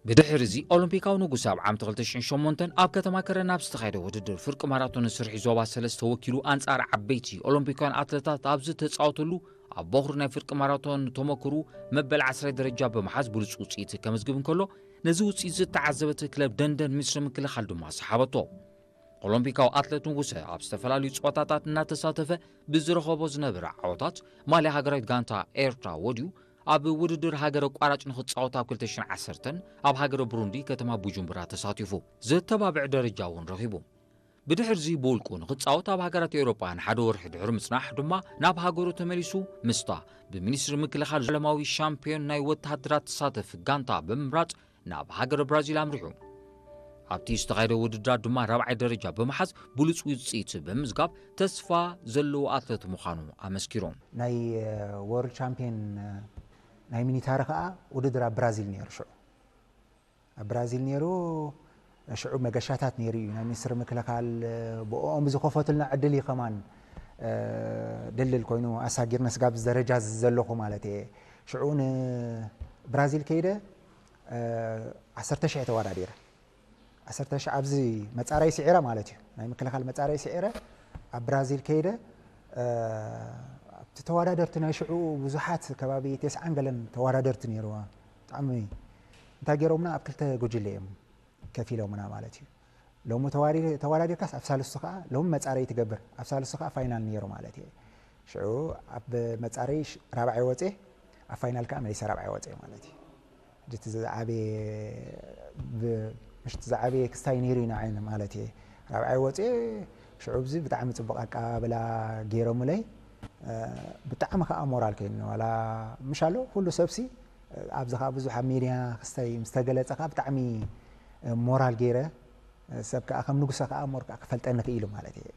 ብድሕሪ እዚ ኦሎምፒካዊ ንጉስ ኣብ ዓመት ክልተ ሽሕን ሸሞንተን ኣብ ከተማ ከረን ኣብ ዝተኻየደ ውድድር ፍርቂ ማራቶን ስርሒ ዞባ ሰለስተ ወኪሉ ኣንጻር ዓበይቲ ኦሎምፒካውያን ኣትለታት ኣብ ዝተጻወተሉ ኣብ በኹሪ ናይ ፍርቂ ማራቶን ተመክሩ መበል ዓስራይ ደረጃ ብምሓዝ ብሉጽ ውጽኢት ከመዝግብ እንከሎ ነዚ ውጽኢት ዝተዓዘበት ክለብ ደንደን ሚኒስትሪ ምክልኻል ድማ ሰሓበቶ። ኦሎምፒካዊ ኣትለት ንጉሰ ኣብ ዝተፈላለዩ ጸወታታት እናተሳተፈ ብዝረኸቦ ዝነበረ ዓወታት ማልያ ሃገራዊት ጋንታ ኤርትራ ወድዩ ኣብ ውድድር ሃገር ኣቋራጭ ንኽጻወት ኣብ ክልተ ሽሕን ዓሰርተን ኣብ ሃገረ ብሩንዲ ከተማ ቡጁምቡራ ተሳቲፉ ዘተባብዕ ደረጃ እውን ረኺቡ። ብድሕርዚ ብውልቁ ንኽጻወት ኣብ ሃገራት ኤውሮጳ ንሓደ ወርሒ ድሕሪ ምጽናሕ ድማ ናብ ሃገሩ ተመሊሱ ምስታ ብሚኒስትሪ ምክልኻል ዓለማዊ ሻምፒዮን ናይ ወተሃደራት ትሳተፍ ጋንታ ብምምራጽ ናብ ሃገረ ብራዚል ኣምሪሑ። ኣብቲ ዝተኻየደ ውድድራት ድማ ራብዓይ ደረጃ ብምሓዝ ብሉጽ ውጽኢት ብምዝጋብ ተስፋ ዘለዎ ኣትለት ምዃኑ ኣመስኪሩ። ናይ ወርልድ ቻምፒዮን ናይ ሚኒታሪ ከዓ ውድድር ኣብ ብራዚል ነይሩ። ሽዑ ኣብ ብራዚል ነይሩ። ሽዑ መገሻታት ነይሩ እዩ። ናይ ሚኒስትሪ ምክልኻል ብኦም ዝኸፈቱልና ዕድል እዩ ከማን ድልድል ኮይኑ ኣሳጊርና ስጋብ ደረጃ ዘለኹ ማለት እየ። ሽዑ ንብራዚል ከይደ ዓሰርተ ሽሕ ተወዳዲረ። ዓሰርተ ሽሕ ኣብዚ መጻረይ ስዒረ ማለት እዩ። ናይ ምክልኻል መጻረይ ስዒረ ኣብ ብራዚል ከይደ ኣብቲ ተወዳደርቲ ናይ ሽዑ ብዙሓት ከባቢ ተስዓን ገለን ተወዳደርቲ ነይርዋ። ብጣዕሚ እንታይ ገይሮምና ኣብ ክልተ ጉጅለ እዮም ከፊሎምና ማለት እዩ። ሎሚ ተዋሪ- ተወዳዲርካስ ኣብ ሳልስቱ ከዓ ሎሚ መጻረይ ትገብር ኣብ ሳልስቱ ከዓ ፋይናል ነይሩ ማለት እዩ። ሽዑ ኣብ መጻረይ ሽ- ራብዓይ ወፅየ ኣብ ፋይናል ከዓ መሊሰ ራብዓይ ወፅየ ማለት እዩ። ሕጂ እቲ ዝዓበየ ብ- ምሽ እቲ ዝዓበየ ክስታይ ነይሩ ኢና ዓይን ማለት እየ። ራብዓይ ወፅየ ሽዑ ብዚ ብጣዕሚ ፅቡቅ ኣቀባብላ ገይሮምለይ። ብጣዕሚ ከዓ ሞራል ከይኒ ዋላ ምሽ ኣሎ ኩሉ ሰብሲ ኣብዚ ከዓ ብዙሕ ኣብ ሜድያ ክስታይ ምስ ተገለፀ ከዓ ብጣዕሚ ሞራል ገይረ ሰብ ከዓ ከም ንጉሰ ከዓ ሞር ከዓ ክፈልጠኒ ክኢሉ ማለት እየ።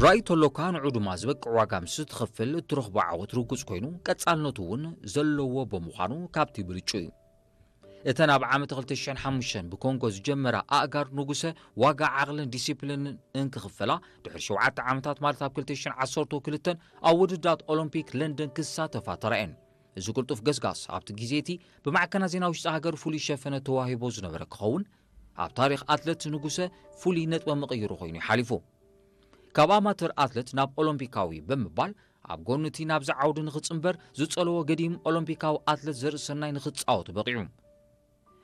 ራእይ ተሎካ ንዑ ድማ ዝበቅዕ ዋጋ ምስ ትኸፍል እትረኽቦ ዓወት ርጉጽ ኮይኑ ቀጻልነቱ እውን ዘለዎ ብምዃኑ ካብቲ ብልጩ እዩ። እተን ኣብ ዓመት ክልተ ሽሕን ሓሙሽተን ብኮንጎ ዝጀመራ ኣእጋር ንጉሰ ዋጋ ዓቕልን ዲሲፕሊንን እንክኽፈላ ድሕሪ ሸውዓተ ዓመታት ማለት ኣብ ክልተ ሽሕን ዓሰርተ ክልተን ኣብ ውድድራት ኦሎምፒክ ለንደን ክሳተፋ ተራእየን። እዚ ቅልጡፍ ገስጋስ ኣብቲ ግዜ እቲ ብማዕከናት ዜና ውሽጢ ሃገር ፍሉይ ሸፈነ ተዋሂቦ ዝነበረ ክኸውን ኣብ ታሪኽ ኣትለት ንጉሰ ፍሉይ ነጥበ መቐይሮ ኮይኑ ይሓሊፉ። ካብ ኣማተር ኣትለት ናብ ኦሎምፒካዊ ብምባል ኣብ ጎኒ እቲ ናብዚ ዓውዲ ንኽጽንበር ዝጸለዎ ገዲም ኦሎምፒካዊ ኣትለት ዘርእሰናይ ንኽጻወት በቒዑ።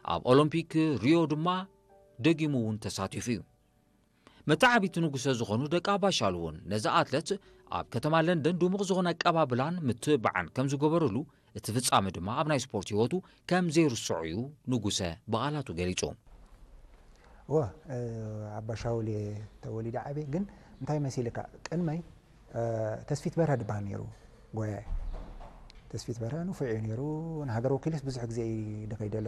ኣብ ኦሎምፒክ ሪዮ ድማ ደጊሙ እውን ተሳቲፉ እዩ። መተዓቢቲ ንጉሰ ዝኾኑ ደቂ ኣባሻሉ እውን ነዚ ኣትለት ኣብ ከተማ ለንደን ድሙቕ ዝኾነ ኣቀባብላን ምትብባዕን ከም ዝገበርሉ እቲ ፍጻመ ድማ ኣብ ናይ ስፖርት ህይወቱ ከም ዘይርስዖ እዩ ንጉሰ ብቓላቱ ገሊጹ። እወ ኣባሻውል ተወሊደ ዓብየ ግን እንታይ መሲልካ ቅድመይ ተስፊት በርሀ ድበሃል ነይሩ ጎያይ። ተስፊት በርሀ ንፉዕ እዩ ነይሩ። ንሃገር ወኪልስ ብዙሕ ግዜ እዩ ድኸይደሉ።